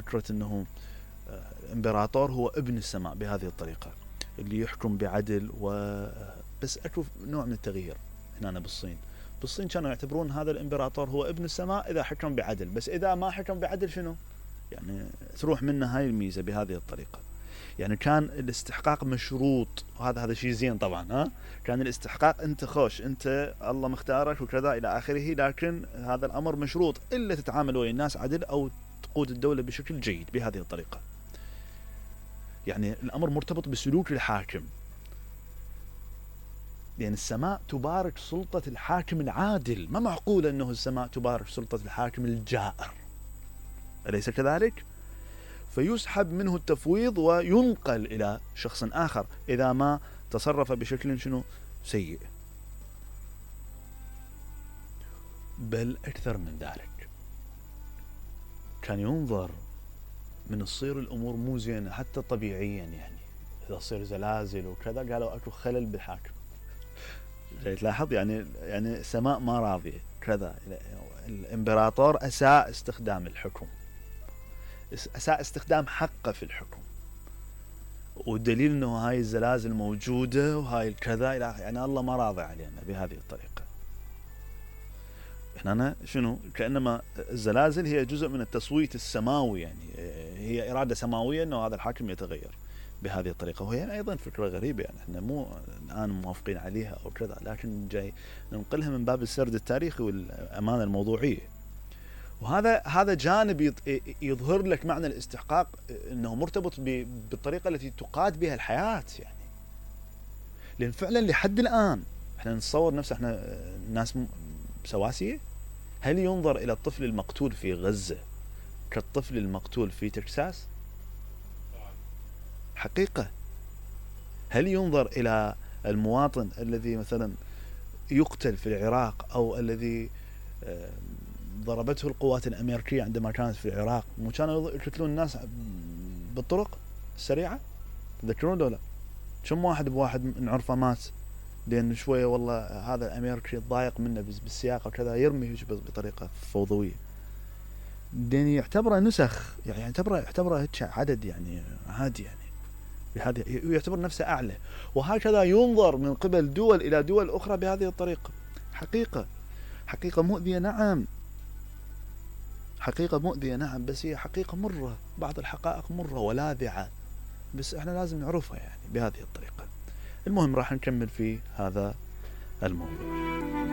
فكرة انه الامبراطور هو ابن السماء بهذه الطريقة اللي يحكم بعدل بس اكو نوع من التغيير هنا بالصين كانوا يعتبرون هذا الامبراطور هو ابن السماء اذا حكم بعدل، بس اذا ما حكم بعدل شنو؟ يعني تروح منه هاي الميزة بهذه الطريقة. يعني كان الاستحقاق مشروط، وهذا شيء زين طبعا. كان الاستحقاق انت خوش، انت الله مختارك وكذا الى اخره، لكن هذا الامر مشروط الا تتعامل ويا الناس عدل او تقود الدولة بشكل جيد بهذه الطريقة. يعني الامر مرتبط بسلوك الحاكم، لأن السماء تبارك سلطة الحاكم العادل، ما معقول أنه السماء تبارك سلطة الحاكم الجائر، أليس كذلك؟ فيسحب منه التفويض وينقل إلى شخص آخر إذا ما تصرف بشكل شنو سيء. بل أكثر من ذلك، كان ينظر من تصير الأمور مو زينة حتى طبيعيا، يعني إذا تصير زلازل وكذا قالوا أكو خلل بالحاكم. تلاحظ يعني السماء ما راضية كذا، الإمبراطور أساء استخدام الحكم، أساء استخدام حقه في الحكم، والدليل أنه هاي الزلازل موجودة وهاي الكذا، يعني الله ما راضي علينا بهذه الطريقة. هنا شنو؟ كأنما الزلازل هي جزء من التصويت السماوي، يعني هي إرادة سماوية أنه هذا الحاكم يتغير بهذه الطريقة. وهي أيضا فكرة غريبة، يعني احنا مو الآن موافقين عليها أو كذا، لكن جاي ننقلها من باب السرد التاريخي والأمانة الموضوعية. وهذا جانب يظهر لك معنى الاستحقاق، أنه مرتبط بالطريقة التي تقاد بها الحياة. يعني لأن فعلا لحد الآن احنا نتصور نفسه احنا ناس سواسية. هل ينظر إلى الطفل المقتول في غزة كالطفل المقتول في تكساس؟ حقيقة. هل ينظر إلى المواطن الذي مثلا يقتل في العراق أو الذي ضربته القوات الأمريكية عندما كانت في العراق، مو كانوا يقتلون الناس بالطرق السريعة؟ تذكرون ولا؟ كم واحد بواحد نعرفه مات لأن شوية والله هذا الأمريكي ضايق منه بالسياقة وكذا، يرمي بطريقة فوضوية. لأن يعتبره نسخ، يعني يعتبره عدد يعني عادي، يعني بهذه يعتبر نفسه أعلى. وهكذا ينظر من قبل دول إلى دول أخرى بهذه الطريقة. حقيقة مؤذية، نعم، حقيقة مؤذية نعم، بس هي حقيقة مرة، بعض الحقائق مرة ولاذعة، بس احنا لازم نعرفها يعني بهذه الطريقة. المهم راح نكمل في هذا الموضوع.